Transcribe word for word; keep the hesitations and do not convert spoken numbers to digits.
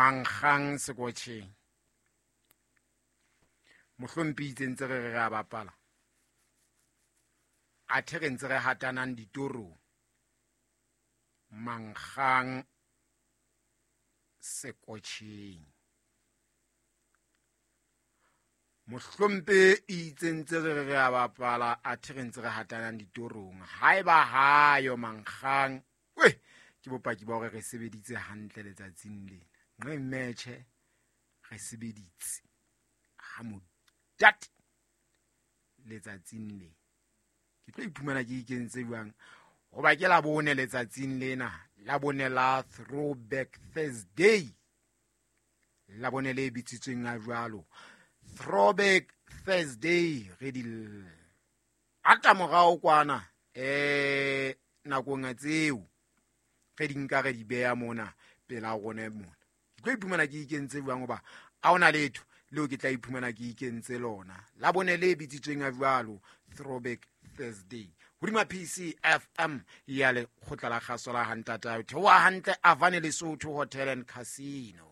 Mankgang sekotjheng. Mohlompi itse ntse re re re a bapala. Athe re ntse re hatanang ditorong. Mankgang sekotjheng. Mohlompe itse ntse re re re a bapala, athe re ntse re hatanang ditorong. Haeba hayo mankgang, we, ke bopaki ba hore re sebeditse hantle letsatsing lena. Nqe metjhe re sebeditse ha modate letsatsing lena. Ke tlo iphumana ke ikentse jwang? Hoba ke la bone letsatsing lena, la bone la Throwback Thursday. La bone le bitsitsweng a jwalo. Throwback Thursday re di ata morao kwana eh nakong tseo re di nka re di beha mona pela rona mona. Ke tlo iphumana ke ikentse jwang hoba ha hona letho leo ke tla iphumana ke ikentse lona. La bone le bitsitsweng a jwalo Throwback Thursday. Hodima P C F M ya lekgotla la kgaso la Hantata. Theoha hantle Avane Lesotho Hotel and Casino.